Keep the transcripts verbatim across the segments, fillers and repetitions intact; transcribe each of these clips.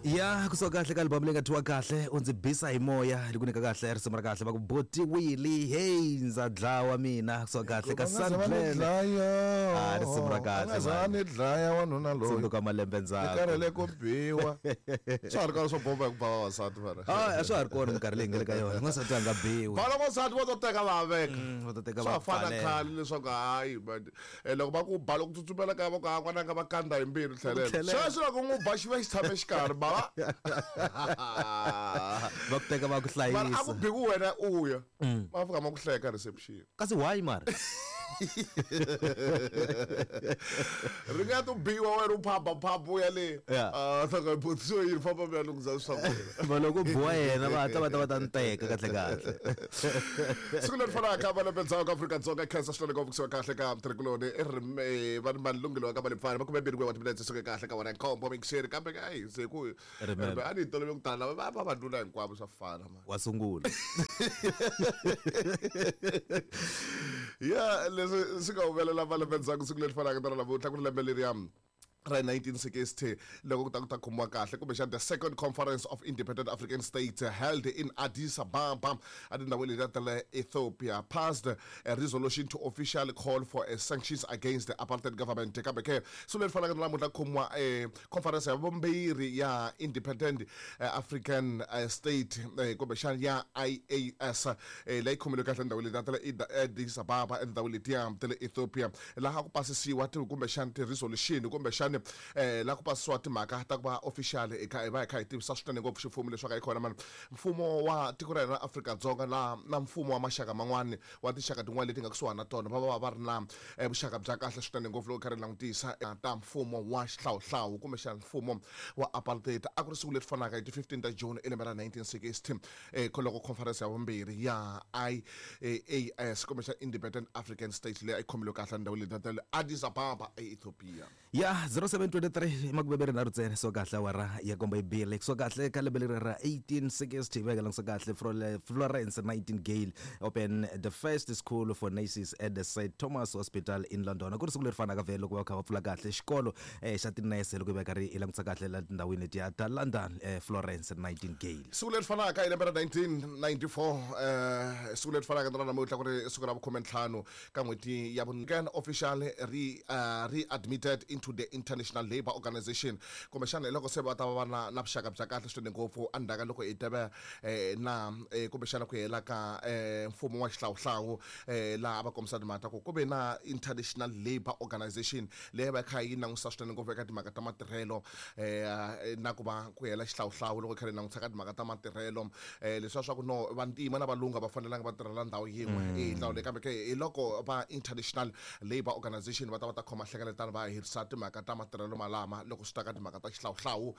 Ya kusuka kahle ka album leyi nga thyiwa kahle u ndzi bisa hi moya li ku nyika kahle risimu ra kahle va ku botiwile hey ndza dlawa mina kusuka kahle ka Sandland ah risimu ra kahle nga za ni dlaya wanuna loyi tsundzuka malembe ndzhaku ni karhele ku biwa swa ha ri kona swo bomba hi ku ba vavasati mara ah a swa ha ri kona minkarhi leyi nga le ka yona n'wansati a nga biwi vana n'wansati va to teka va veka va to teka va fana khale leswaku hayi man loko va ku ba loko tsutsumela kaya va ku ha n'wananga va kanda hi mbilu tlhelela sweswi loko n'wi ba xi va xi tshame xikarhi bava va ku teka va ku hlayisa mara a ku biku wena u ya va fika ma ku hleka reception kasi why mara ri nga to biwa wena u phaba phaba u ya le a saka botso yi famba mi ya lunghiza swa wena va loko biwa yena va hatla va ta va ta nteka kahle kahle siku leri fanaka malembe ndzhaku ka Afrika-Dzonga khensa swinene ngopfu kusuka kahle ka mtirhikuloni i ri va ni malunghelo ka malipfana makume mbirhi wa timinetse suke kahle ka wena nkombo mixeri kambe ayi se ku a ni tolovele ku tala va vavanuna hinkwavo swa fana ma wa sungula ya leswi swi nga humelela malembe ndzhaku siku leri fanaka na namuntlha ku ri lembe leriya ra nineteen sixty loko ku ta ku ta khomiwa kahle kumbexana the second conference of independent African states held in Addis Ababa etindhawini letiya ta le Ethiopia passed a resolution to officially call for a sanctions against the apartheid government kambe ke siku leri fanaka na namuntlha khomiwa conference ya vumbirhi ya independent African state kumbexana ya I A S leyi khomiwe kahle endhawini letiya ta le Addis Ababa etindhawini letiya ta le Ethiopia laha ku pasisiwa kumbexana ti-resolution kumbexana eh la ku pasiwa timhaka ta ku va official eka hi va hi kha hi tivisa swinene ngopfu ximfumo leswaku hi kona mani mfumo wa tiko ra hina ra Afrika-Dzonga la na mfumo wa maxaka man'wani wa tinxaka tin'wana leti nga kusuhani na tona va va va ri na vuxaka bya kahle swinene ngopfu loko kha ri langutisa ta mfumo wa xihlawuhlawu kumbexana mfumo wa apartheid a ku ri siku leri fanaka hi ti fifteen ta June i lembe ra nineteen sixty eh loko conference ya vumbirhi ya I A S kumbexana Independent African States leyi a yi khomile kahle ndhawu leyi ta le Addis Ababa eEthiopia ya zero seven twenty-three makubebere na rutsene so kahle awara ya komba ibile so kahle ka lembe leri ra eighteen sixty veka langisa kahle Florence Nightingale open the first school for nurses at the Saint Thomas Hospital in London ku ri siku leri fanaka vhele loko va kha va pfula kahle xikolo xa tinese loko va karhi i langutisa kahle la tindhawini letiya ta London Florence Nightingale siku leri fanaka hi lembe ra nineteen ninety-four eh siku leri fanaka na namuntlha ku ri siku ra vukhume ntlhanu ka n'hweti ya vunkan official re readmitted into the International Labour Organization kumbexana hi loko se va ta va na na vuxaka bya kahle swinene ngopfu endzhaku ka loko hi teve na kumbexana ku hela ka mfumo wa xihlawuhlawu laha va kombisa timhaka ta ku ku ve na International Labour Organization leyi va kha yi langutisa swinene ngopfu eka timhaka ta matirhelo na ku va ku hela xihlawuhlawu loko kha ri langutisa ka timhaka ta matirhelo leswiya swa ku no vantima na valungu va fanelanga va tirhela ndhawu yin'we hi ndlela leyi kambe ke hi loko va International Labour Organization va ta va ta khoma hlengeletano va herisa timhaka ta matirhelo malama loko swi ta ka timhaka ta xihlawuhlawu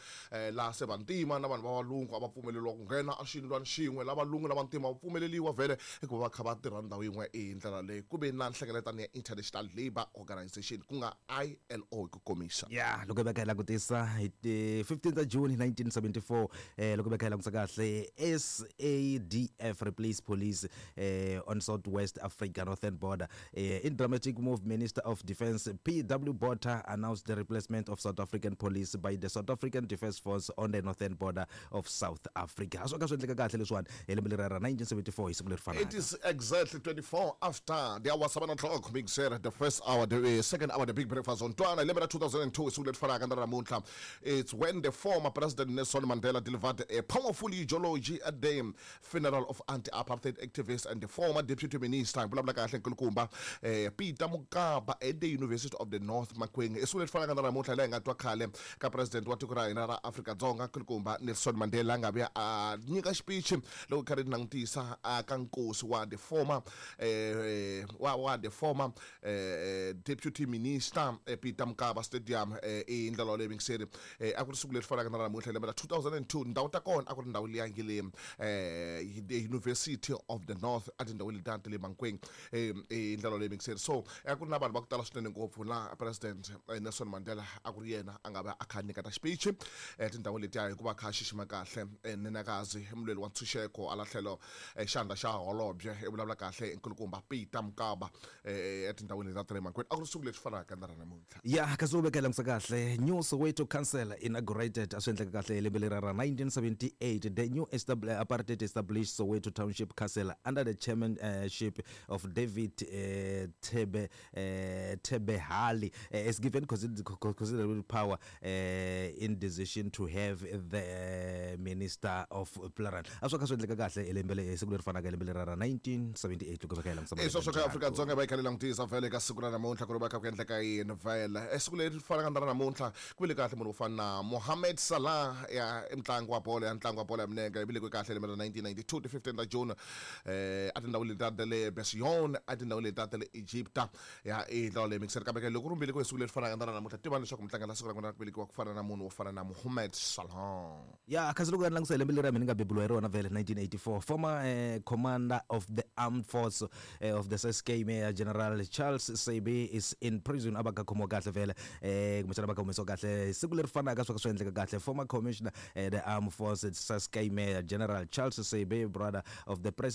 laha se vantima na vanhu va valungu a va pfumeleriwa ku nghena exiyindlwani xin'we la valungu na vantima va pfumeleriwa vhele hikuva va kha va tirha ndhawu yin'we hi ndlela leyi ku ve na nhlengeletano ya International Labour Organization ku nga I L O hi ku komisa ya loko va kha hi langutisa hi ti fifteen ta June nineteen seventy-four eh loko va kha hi langutisa kahle S A D F replace police eh on Southwest Africa northern border eh, in dramatic move Minister of Defence P W Botha announced the replacement of South African police by the South African Defence Force on the northern border of South Africa. A swi ka swi endleka kahle leswiwani hi lembe leri ra nineteen seventy-four hi siku leri fanaka. It is exactly twenty-four after the hour seven o'clock big sir the first hour the uh, second hour the big breakfast on Twana lembe ra two thousand two siku leri fanaka na namuntlha. It's when the former president Nelson Mandela delivered a powerful eulogy at the funeral of anti-apartheid activist and the former deputy minister vulavula kahle nkulukumba eh, Peter Mokaba at the University of the North Makweng. Siku leri fanaka na namuntlha laha hi nga twa khale ka president wa tiko ra hina ra Afrika-Dzonga nkulukumba Nelson Mandela a nga vuya a nyika xipichi loko kha ri langutisa ka nkosi wa the former eh, wa wa the former eh, deputy minister eh, Peter Mokaba Stadium eh, i ndlela leyi mingiseri eh, a ku ri siku leri fanaka na namuntlha lembe ra two thousand two ndhawu ta kona a ku ri ndhawu liya nge le eh, the University of the North a tindhawini letiya ta le Mankweng eh, i ndlela leyi mingiseri so a ku ri na vanhu va ku tala swinene ngopfu la president Nelson Mandela Mandela a ku ri yena a nga va a kha a nyiketa xipichi etindhawini letiya hikuva a kha a xixima kahle eh, nenekazi mulweri wa ntshunxeko ala tlhelo eh, xandla xa holobye i vulavula kahle nkulukumba Peter Mokaba eh, etindhawini leti ta le Mankweng a ku ri siku leri fanaka na ra namuntlha. Ya, kasi u veka langutisa kahle, new Soweto Council inaugurated. A swi endleka kahle hi lembe leri ra nineteen seventy-eight. The new estab- apartheid established Soweto Township Council under the chairmanship of David uh, Thebe uh, Thebehali uh, is given consider- considerable power uh, in decision to have the Minister of Plural. A swi kha swi endleka kahle hi lembe le siku leri fanaka hi lembe leri ra nineteen seventy-eight, loko veka hi langutisa. I sweswo ka Afrika-Dzonga va yi kha yi langutisa vhele ka siku ra namuntlha ku ri va kha ku endleka yini vhele. E siku leri fanaka na ra namuntlha ku vile kahle munhu wo fana na Mohamed Salah ya i mutlangi wa bolo ya ntlangu wa bolo ya minenge, i velekiwe kahle lembe ra nineteen ninety-two ti fifteen ta June eh a tindhawu leti ta le Bession, a tindhawu leti ta le Egypta ya i ndhawu leyi mikiseri. Kambe ke loko ri velekiwe hi siku leri fanaka na ra namuntlha, tiva leswaku mutlangi la siku ra n'wina ra ku velekiwa ku fana na munhu wo fana na Mohamed Salah. Ya, kasi loko ni langutisa hi lembe leri mina ni nga beburiwa hi rona vhele, nineteen eighty-four, former uh, commander of the armed force uh, of the Ciskei, Major General Charles Seabi, is in prison. A va ka khomiwa kahle vhele, eh kumbexana va ka humesiwa kahle siku leri fanaka swa ka swi endleka kahle. Former commissioner uh, the armed force Ciskei, Major General Charles Seabi, brother of the president.